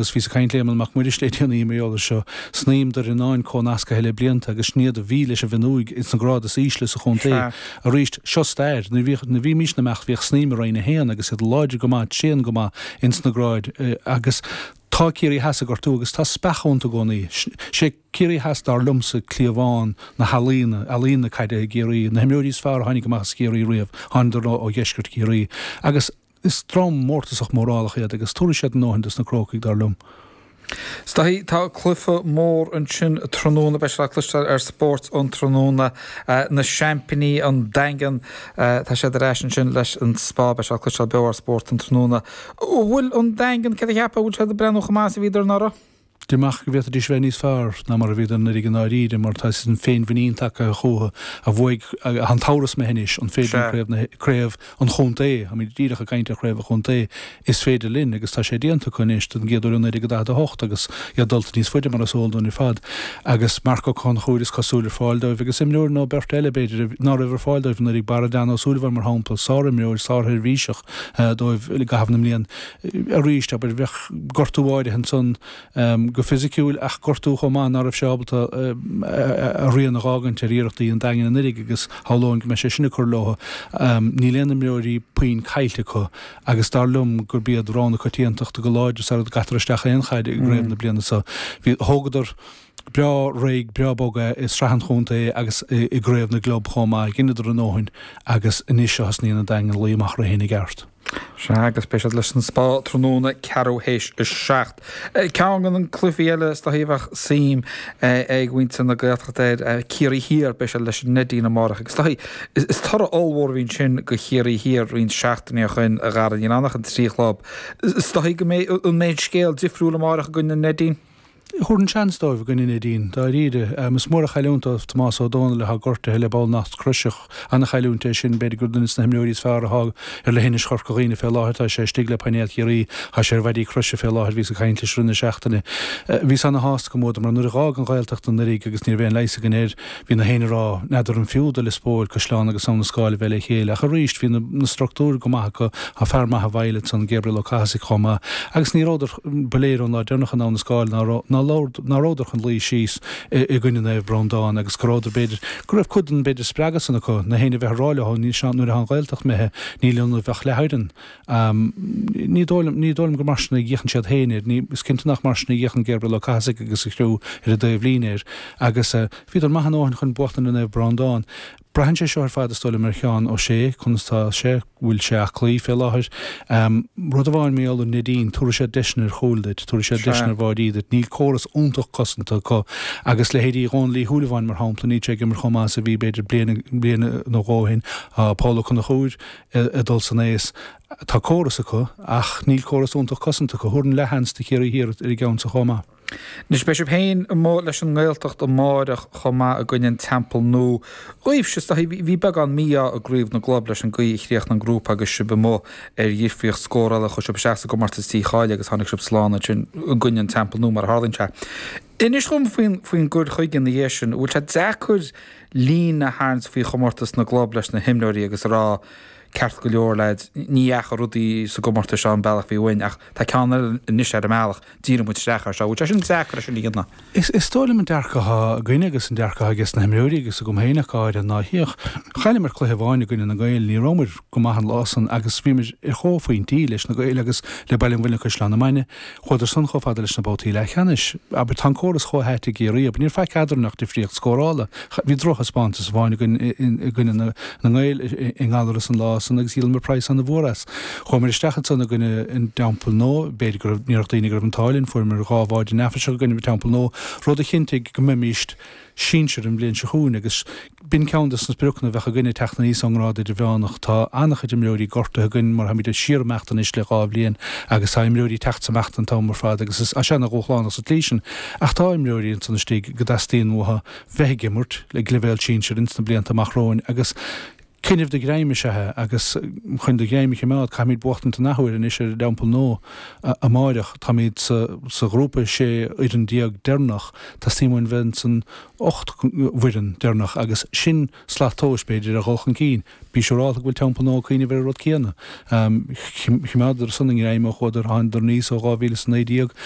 Agus bhíos ag caint le Éamonn Mac Muiris le déanaí mar gheall air seo. Snaidhm Doire Fhíonáin comhnascaithe le blianta agus sin iad a bhí leis an bhFionnúig ins na gráid is ísle sa chontae. Arís, seo stair. Nuair bhíodh, nuair a bhímís ag imeacht bhíodh Snaidhm i Roinn 1 agus iad láidir go maith, tréan go maith ins na gráid agus tá Ciarraí Theas ag gortú agus tá speach iontu i gcónaí. Sé Ciarraí Theas dar liomsa cliabhán na healaíona, ealaíon na caide i gCiarraí. Na himreoirí is fearr a tháinig amach as Ciarraí riamh, thánadar ó dheisceart Chiarraí. Agus. Is dream mórtasach mórálach iad agus tabharfaidh siad a ndóthain dos na Crócaigh, dar liom. Is dóigh, tá cluiche mór ansin tráthnóna, beidh sé le cloisteáil ar Spórt an Tráthnóna. Na seaimpíní, an Daingean, tá siad ar ais ansin leis an Spá, beidh sé le cloisteáil beo ar Spórt an Tráthnóna. An bhfuil an Daingean, céard a cheapfá, an bhfuil siad ag breathnú chomh maith is a bhíodar anuraidh? Deirim ach go bhféadfaidís a bheith níos fearr ná mar a bhíodar anuraidh i ndáiríre mar tá an féinmhuinín tagtha chucu a bhuaigh an t-amhras imithe anois an féidir linn craobh na craobh an chontae, táimid díreach ag caint ar chraobh an chontae, is féidir linn agus tá sé déanta acu anois don gcéad uair ó 1948 agus iad dulta níos faide mar is eol dúinn ar fad agus Marc Ó Conchúir is cosúil ar fáil dóibh agus imreoir nó beirt eile b'fhéidir ná raibh ar fáil dóibh anuraidh, Barra Dan Ó Súilleabháin mar shampla, sárimreoir, sársheirbhíseach dóibh i gcaitheamh na mblian. Arís, abair, bheadh gortú áirithe ansan go fisiciúil ach gortú chomh maith ná raibh sé ábalta a rian a dh'fhágaint ar iarrachtaí an Daingin anuraidh agus shamhlóinn go mbeidh sé sin ag cur leo. Níl aon imreoirí puinn caillte acu agus dar liom gurb iad rogha na coitiantachta go láidir sara gcaitear isteach aon chaid i gcraobh na bliana seo. Bhí, thógadar breá réidh, breá bog é i sraith an chontae agus i gcraobh na gclub chomh maith. Dheineadar a ndóthain agus anois a thosnaíonn an Daingean ag luí amach orthu féin i gceart. Sea, agus beidh siad leis an Spá tráthnóna ceathrú théis 7. Ceann de na cluichí eile is dóichí a bheadh suim ag muintir na Gaeltachta air, Ciarraí Thiar, beidh siad leis an Neidín amárach agus is dóichí, is toradh ollmhór a bhí ansin do Chiarraí Thiar roinnt seachtainí ó shin, a Dhara, níl ann ach an trí chlub. Is dóichí go mbeidh, an mbeidh an scéal difriúil amárach i gcoinne an Neidín? Thabharfainn seans dóibh i gcoinne an Neidín, dáiríre. Is mór an chailliúint dóibh Tomás Ó Dónaill atá gortaithe le ballnacht croise. An-chailliúint é sin. B'fhéidir gur duine de na himreoirí is fearr atá ar leithinis Chorca Dhuibhne fé láthair. Tá sé istigh le painéal Chiarraí. Tá sé ar mhaidí croise fé láthair. Bhíos ag caint leis i rith na seachtaine. Bhíos ana-shásta go mbuadar mar nuair a dh'fhág an Ghaeltacht anuraidh agus ní raibh aon leigheas againn air, Bhí na héinne ag rá, n'fheadar an fiú do Lios Póil, Caisleán agus Abha na Scáil a bheith le chéile, ach arís bhí na structúir go maith acu, tá fear maith i bhfeighil ansan, Gabriel Ó Cathasaigh chomh maith, agus ní rabhadar, ba léir ón lá deireanach in Abha na Scáil ná raibh, ná rabhadar chun luí síos i gcoinne Naomh Breandán agus go rabhadar b'fhéidir, go raibh cuid den b'fhéidir spreagadh san acu, na héinne a bheith ag rá leo, níl sé, nuair atá an Ghaeltacht imithe, níl ionaibh ach leathfhoireann. Ní dóigh liom, ní dóigh liom gur mar sin a fhéachann siad féin air. Ní, is cinnte nach mar sin a fhéachann Gabriel Ó Cathasaigh agus a chriú ar an dtaobhlíne air. Agus bhíodar maith a ndóthain chun buachtaint ar Naomh Breandán. Braitheann sé seo ar fad, is dóigh liom, ar Sheán Ó Sé, conas tá sé, bhfuil sé aclaí fé láthair. Rud amháin mar gheall ar an Neidín, tabharfaidh siad deiseanna ar chúil duit, tabharfaidh siad deiseanna ar bháidí duit. Níl córas iontach cosanta acu agus leithéidí Dhónaill Uí Shúilleabháin, mar shampla, níl sé ag imirt chomh maith is a bhí, b'fhéidir, bliain, bliain nó dhó ó shin. Tá Paul Ó Conchúir, ag dul san aos. Tá córas acu ach níl córas iontach cosanta acu. Thabharfainn leathsheans do Chiarraí Thiar ar an gceann so chomh maith. Anois beidh sibh féin amuigh leis an nGaeltacht amáireach chomh maith i gcoinne an Teampall Nua. Dhaoibhse, is dóichí, bhí beagán mí-ádh i gCraobh na gClub leis an gcaoi a chríochnaigh an grúpa agus sibh amuigh ar dhifríocht scórála. Chuaigh sibh isteach sa gcomórtas dícháilithe agus tháinig sibh slán ansin i gcoinne an Teampall Nua mar a tharlaíonn sé. Inis dhom faoin gcur chuige ina dhiaidh sin. An bhfuil sé deacair líne a tharraingt faoi chomórtas na gclub leis na himreoirí agus a rá, ceart go leor leaids, ní dheachaigh rudaí sa gcomórtas seo an bealach a bhí uainn ach tá ceann eile anois ar an mbealach, díreoidh muid isteach air seo. Bhfuil sé sin deacair é sin a dhéanamh? Is dóigh liom an dearcadh atá againne agus an dearcadh atá ages na himreoirí agus agam féin ach go háirithe ná féach, chailleamar cluiche amháin i gcoinne na nGael, ní rabhamar go maith an lá san agus bhíomar ar chomhphointí leis na Gaeil agus le Baile an Mhuilinn Caisleán na Mainge. Chuadar san chomh fada leis na babhtaí leathcheannais. Abair, tá an córas chomh hait i gCiarraí, abair, níor faic eadrainn ach difríocht scórála. Bhí drochthaispeántas amháin againn i gcoinne na nGael i nGallaras an lá san agus dhíolamar praghas ana-mhór as. Chuamar isteach ansan i gcoinne an Teampaill Nua, b'fhéidir go raibh, ní raibh daoine go raibh an t-ádh linn, fuaireamar dhá bháide neafaiseach i gcoinne an Teampaill Nua, rud a chinntigh go mbeimíst sinsir an bhliain seo chugainn agus b'in ceann de na spriocanna a bheadh againn ag teacht aníos ón ngrád idirmheánach. Tá an-chuid imreoirí gortaithe againn mar táimid ag síorimeacht anois le dhá bhliain agus tá imreoirí ag teacht is ag imeacht an t-am ar fad agus is sé ana-dhúshlánach sa tslí sin ach tá imreoirí ansan istigh go dteastaíonn uathu bheith ag imirt ag leibhéal sinsir ins na blianta amach romhainn agus. Coinnibh do ghreim is ea é agus chun do ghreim a chimeád caithfimid buachtaint an athuair anois ar an dTeampall Nua amáireach. Táimid sa ghrúpa 16 fhoireann deireanach, teastaíonn uainn bheith insan 8 bhfoireann deireanach agus sin slat tomhais b'fhéidir ar dhul chun cinn. Bí siúrálta go bhfuil Teampall Nua ag cuimhneamh ar an rud céanna. Chimeádadar san a ngreim ó chuadar, thánadar aníos ó 2019 ón.